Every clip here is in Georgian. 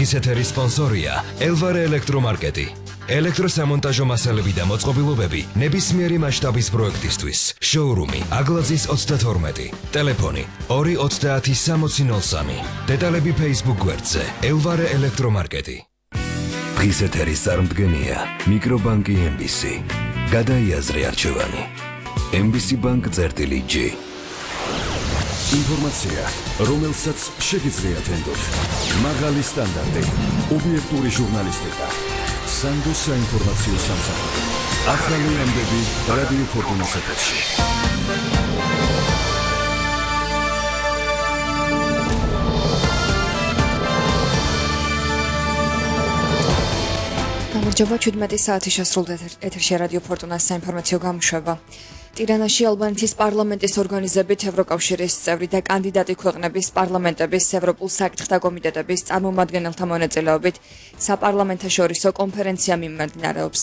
დღის ეთერის სპონსორია ელვარე ელექტრომარკეტი. ელექტროსამონტაჟო მასალები და მოწყობილობები ნებისმიერი მასშტაბის პროექტისთვის. შოურუმი აგლაძის 32. ტელეფონი 2906003. დეტალები Facebook გვერდზე ელვარე ელექტრომარკეტი. დღის ეთერის წარმდგენია მიკრობანკი MBC. გადაიაზრე არჩევანი. MBC Bank წერტილი-G. ინფორმაცია, რომელსაც შეგიძლიათ ენდოთ. მაღალი სტანდარტი, ობიექტური ჟურნალისტიკა. სანდოს საინფორმაციო სამსახური. ახალი ამბები რადიო ფორტუნას ეთერში. გამარჯობა, 17 საათი შესრულდა ეთერში რადიო ფორტუნას საინფორმაციო გამოშვება. ტირანაში ალბანეთის პარლამენტის ორგანიზებით ევროკავშირის წევრი და კანდიდატი ქვეყნების პარლამენტების ევროპულ საკითხთა კომიტეტების წარმომადგენელთა მონაწილეობით საპარლამენტაშორისო კონფერენცია მიმდინარეობს.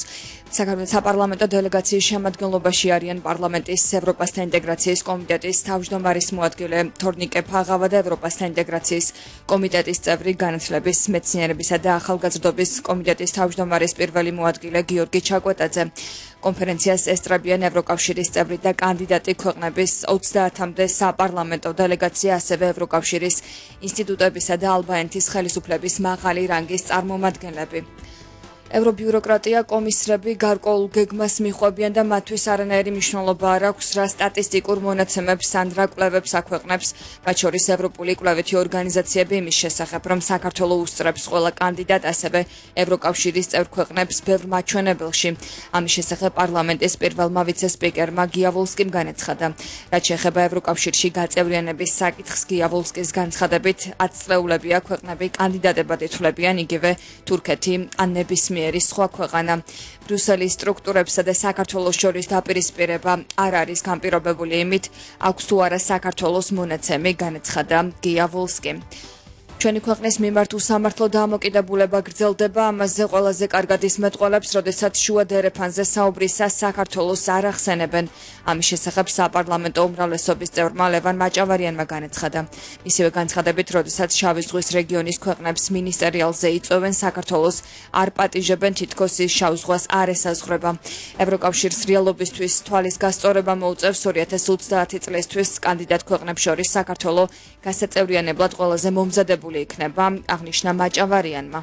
საქართველოს საპარლამენტო დელეგაციის შემადგენლობაში არიან პარლამენტის ევროპასთან ინტეგრაციის კომიტეტის თავმჯდომარის მოადგილე თორნიკე ფაღავა და ევროპასთან ინტეგრაციის კომიტეტის წევრი განათლების, მეცნიერებისა და ახალგაზრდობის კომიტეტის თავმჯდომარის პირველი მოადგილე გიორგი ჩაკვეტაძე. კონფერენციას ესწრებიან ევროკავშირის წევრი და კანდიდატი ქვეყნების 30-მდე საპარლამენტო დელეგაცია, ასევე ევროკავშირის ინსტიტუტებისა და ალბანეთის ხელისუფლების მაღალი რანგის წარმომადგენლები. ევრობიუროკრატია კომისრები გარკვეულ გეგმას მიხვევიან და მათთვის არანაირი მნიშვნელობა არ აქვს რა სტატისტიკურ მონაცემებს ან რა კვლევებს აქვეყნებს, მათ შორის ევროპული კვლევითი ორგანიზაციები იმის შესახებ, რომ საქართველო უსწრებს ყველა კანდიდატ, ასევე ევროკავშირის წევრ ქვეყნებს ბევრ მაჩვენებელში. ამის შესახებ პარლამენტის პირველმა ვიცე-სპიკერმა გიავოლსკიმ განაცხადა. რაც შეეხება ევროკავშირში გაწევრიანების საკითხს, გიავოლსკის განცხადებით 10 წლეულებია ქვეყნები კანდიდატებად ითვლებიან, იგივე თურქეთი ან ნებისმიერი სხვა ქვეყანა. ბრიუსელის სტრუქტურებსა და საქართველოს შორის დაპირისპირება არ არის განპირობებული იმით, აქვს თუ არა საქართველოს მონაცემი, განაცხადა გიავოლსკი. ჩვენი ქვეყნის მიმართ უსამართლო დამოკიდებულება გრძელდება, ამაზე ყველაზე კარგად ისმეტყველებს, როდესაც შუა დერეფანზე საუბრისას საქართველოს არ ახსენებენ. ამის შესახებ საპარლამენტო უმრავლესობის წევრმა ლევან მაჭავარიანმა განაცხადა. მისივე განცხადებით, როდესაც შავი ზღვის რეგიონის ქვეყნებს მინისტერიალზე იწვევენ, საქართველოს არ პატიჟებენ, თითქოს ის შავ ზღვას არ ესაზღვრება. ევროკავშირს რეალობისთვის თვალის გასწორება მოუწევს 2030 წლისთვის კანდიდატ ქვეყნებს შორის საქართველო გასაწევრიანებლად ყველაზე მომზადებული იქნება, აღნიშნა მაჭავარიანმა.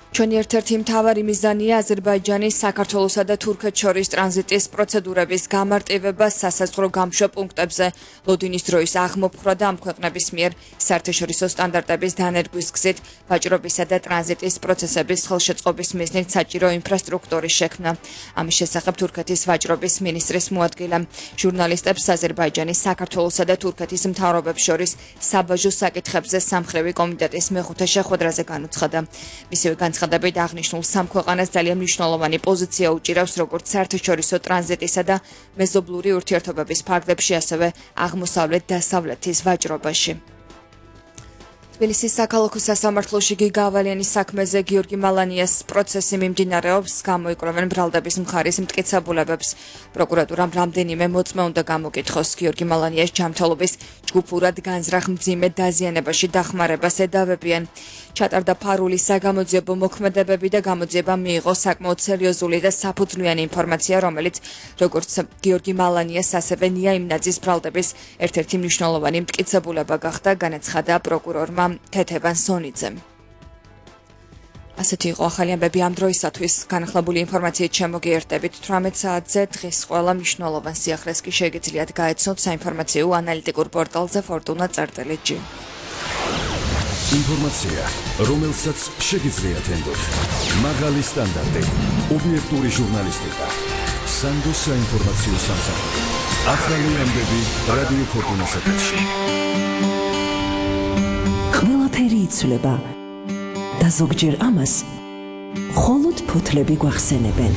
ჩვენი ერთ-ერთი მთავარი მიზანია აზერბაიჯანის, საქართველოსა და თურქეთს შორის ტრანზიტის პროცედურების გამარტივება სასაზღვრო გამშვებ პუნქტებზე. ლოდინის დროის აღმოფხვრა და ამ ქვეყნების მიერ საერთაშორისო სტანდარტების დანერგვის გზით ვაჭრობისა და ტრანზიტის პროცესების ხელშეწყობის მიზნით საჭირო ინფრასტრუქტურის შექმნა. ამის შესახებ თურქეთის ვაჭრობის მინისტრის მოადგილემ ჟურნალისტებს აზერბაიჯანის, საქართველოსა და თურქეთის მთავრობებს შორის საბაჟო საკითხებზე სამხრივი კომიტეტის მეხუთე შეხვედრაზე განუცხადა. მისივე განცხადებით აღნიშნულ სამ ქვეყანას ძალიან მნიშვნელოვანი პოზიცია უჭირავს როგორც საერთაშორისო ტრანზიტისა და მეზობლური ურთიერთობების ფარგლებში, ასევე აღმოსავლეთ-დასავლეთის ვაჭრობაში. თბილისის საქალაქო სასამართლოში გიგა ავალიანის საქმეზე გიორგი მალანიას პროცესი მიმდინარეობს, გამოიკვლევენ ბრალდების მხარის მტკიცებულებებს. პროკურატურამ რამდენიმე მოწმე უნდა გამოკითხოს. გიორგი მალანიას ჯანმრთელობის ჯგუფურად განზრახ მძიმე დაზიანებაში დახმარებას ედავებიან. ჩატარდა ფარული საგამოძიებო მოქმედებები და გამოძიება მიიღო საკმაოდ სერიოზული და საფუძვლიანი ინფორმაცია, რომელიც როგორც გიორგი მალანიას, ასევე ნია იმნაძის ბრალდების ერთ-ერთი მნიშვნელოვანი მტკიცებულება გახდა, განაცხადა პროკურორმა თეთევან სონიძემ. ასეთი იყო ახალი ამბები ამ დროისათვის. განახლებული ინფორმაციით შემოგიერთებით 18 საათზე. დღის ყველა მნიშვნელოვან სიახლეს კი შეგიძლიათ გაეცნოთ საინფორმაციო ანალიტიკურ პორტალზე fortuna.gi. ინფორმაცია, რომელსაც შეგიძლიათ ენდოთ. მაღალი სტანდარტი, ობიექტური ჟურნალისტიკა. სანდოს საინფორმაციო სამსახური. ახალი ამბები რადიო ფორტუნას ეთერში. ყველაფერი იცვლება და ზოგჯერ ამას მხოლოდ ფოთლები გვახსენებენ.